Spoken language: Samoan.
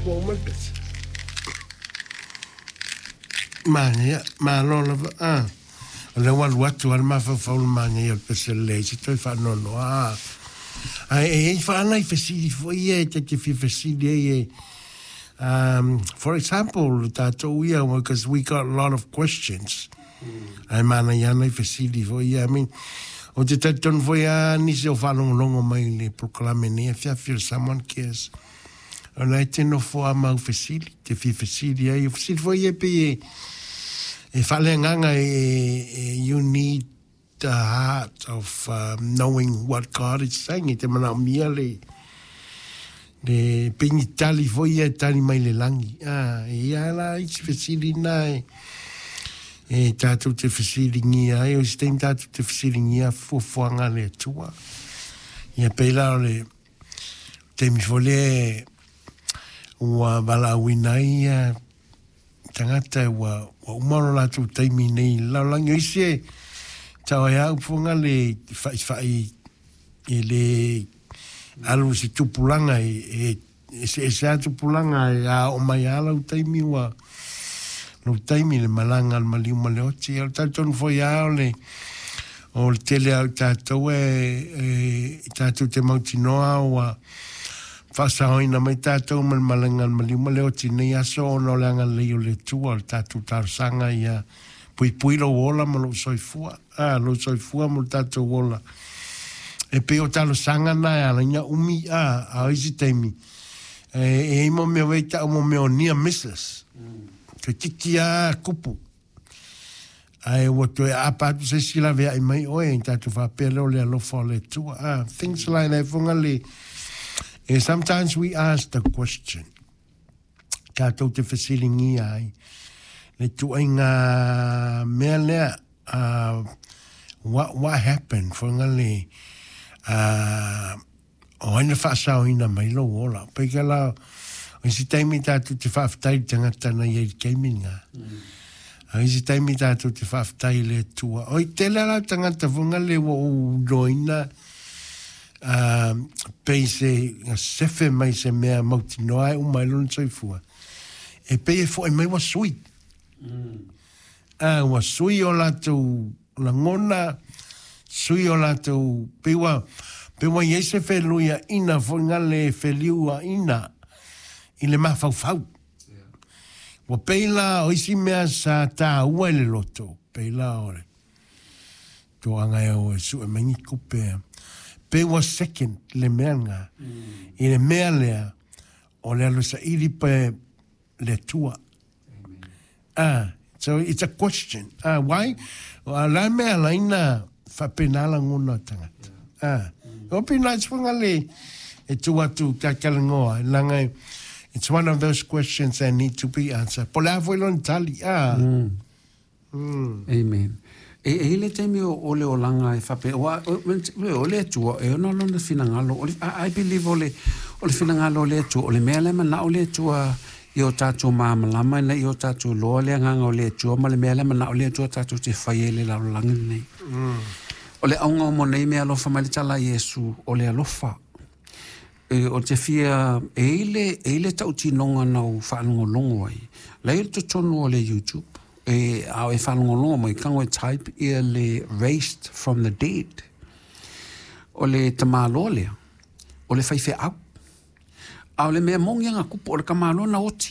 Ua uma le pese. Manaia, malo lava. Ah, o lea ua alu atu lava le mafaufau i le manaia o le pese lelei se toe faanoanoa. Ah, ae e i ai fa nai fesili foi ia e ta te fia fesili ai e for example, le tatou ia, because we got a lot of questions. Ae manaia lava nai fesili foi ia. I mean, ou te talitonu foi lava nisi o faalogologo mai i le polokalame nei afiafi o le Samoan Cares. O la e te nofo a mau fesili, te fia fesili ai. O fesili foi ia pei e, e faaleagaga e, e, you need the heart of knowing what God is saying. E te manaomia le, le pei ni tali foi ia e tali mai le lagi. Ah, e ia la isi fesili na e, e tātou te fesiligia ai, o isi taimi tātou te fesiligia fuafuaga a le Atua. Ia pei la o le taimi foi lea ua valaauina ai ia tagata ua, ua uma lo latou taimi nei i le lalolagi. O isi e tau ai a upu le fa'ifa'i e le alu i se tupulaga e, e eseese lava tupulaga e a oo mai lava lau taimi ua lou taimi le malaga a le maliu ma le oti. O le talitonu foi lava o le o le tele lava o i tatou e, e i tatou te mautinoa ua faasaoina mai tatou ma le malaga a le maliu ma le oti i lenei aso ona o le agalelei o le Atua o le tatou talosaga ia puipui lou ola ma lou soifua, a, lou soifua mo le tatou ola. E pei o talosaga na e ala ai ona umi, a, a o isi taimi, e, e i ai mo mea wei tau mo mea o near misses. Toeitiiti lava kupu. Ae ua toe aapa atu se isi laveai mai oe, tatou faapea lea o le alofa o le Atua. Ah, things like that, foga le, eh, sometimes we ask the question. Tatou te fesiligia ai le tuaiga mea lea, what happened, foga le, o ai na faasaoina mai lou ola. Pei ka la, o isi taimi tatou te faafetai i le tagata na i ai i le taimi lena. A o isi taimi tatou te faafetai i le Atua. Oi, tele lava tagata foga le ua ou iloaina, Ā, pei se sefe mai se mea mautinoa e uma ai lona soifua, e pei e foʻi mai ua sui. Ā, ua sui o latou lagona, sui o latou, pei ua, pei ua i ai se feluiaʻina foi gale e feliuaʻina i le mafaufau. Ua pei la o isi mea sa tāua i le loto, pei la o le Toaga e o e sue mai ni tupe. Pei ua second le mea lena. I le mea lea, o le alu e saili pe le Atua. Ah, so it's a question. Ah, why? O la mea ala ai na faapena lagona o tagata. Ah, it would be nice for le e tu atu kia talanoa. Leaga it's one of those questions that need to be answered. Po o le a foi lona tali. Ah. Amen. E, e i le taimi o, o le olaga e faapea, ua, o, o le Atua, e ono lona finagalo, o le, I, I believe o le, o le finagalo o le Atua, o le mea lea e manao le Atua ia o tatou malamalama ina ia o tatou iloa le agaga o le Atua ma le mea lea e manao le Atua tatou te faia i le lalolagi lenei. O le auga o mo nei mea alofa mai le tala a Iesu, o le alofa. E, o te fia, e i le, e i le tautinoga na ou faalogologo ai, la i totonu o le YouTube, e, a o e faalogologo mai, tago e type ia le Raised from the Dead. O le tamāloa lea, o le faifeau. A o le mea moni a na tupu, o le tamāloa na oti.